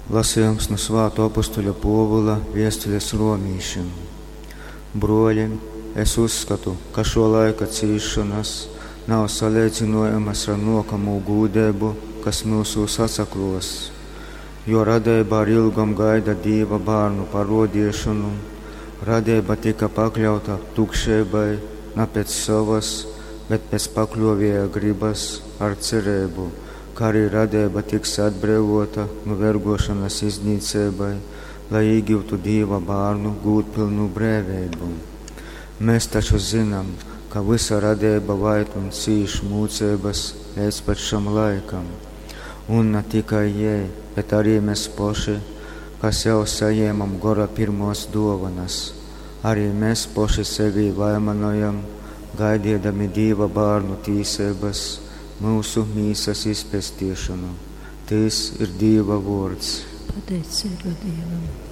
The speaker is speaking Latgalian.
Lasejums nu svātō apostoļa Pōvula viestules romīšim. Brōli, es uzskatu, ka šō laika cīsšonas nav saleidzynojamas ar nōkamū gūdeibu, kas myusūs atsaklōs. Jo radeiba ar ilgom gaida Dīva bārnu parōdeišonu. Radeiba tyka pakļauta tukšeibai na pēc sovas, bet pēc pakļōvēja grybas ar cereibu, ka arī radeiba tiks atbreivōta nu vergōšonas iznīceibai, lai īgyutu Dīva bārnu gūdpylnu breiveibu. Mes taču zynam, ka vysa radeiba vaid un cīš mūceibas leidz pat šam laikam. Un na tikai jei, bet arī mes poši, kas jau sajēmam Gora pyrmōs dōvonas, arī mes poši sevī vaimanojam, gaideidami Dīva bārnu tīseibas, myusu mīsas izpestiešonu. Tys ir Dīva vōrds. Pateiceiba Dīvam.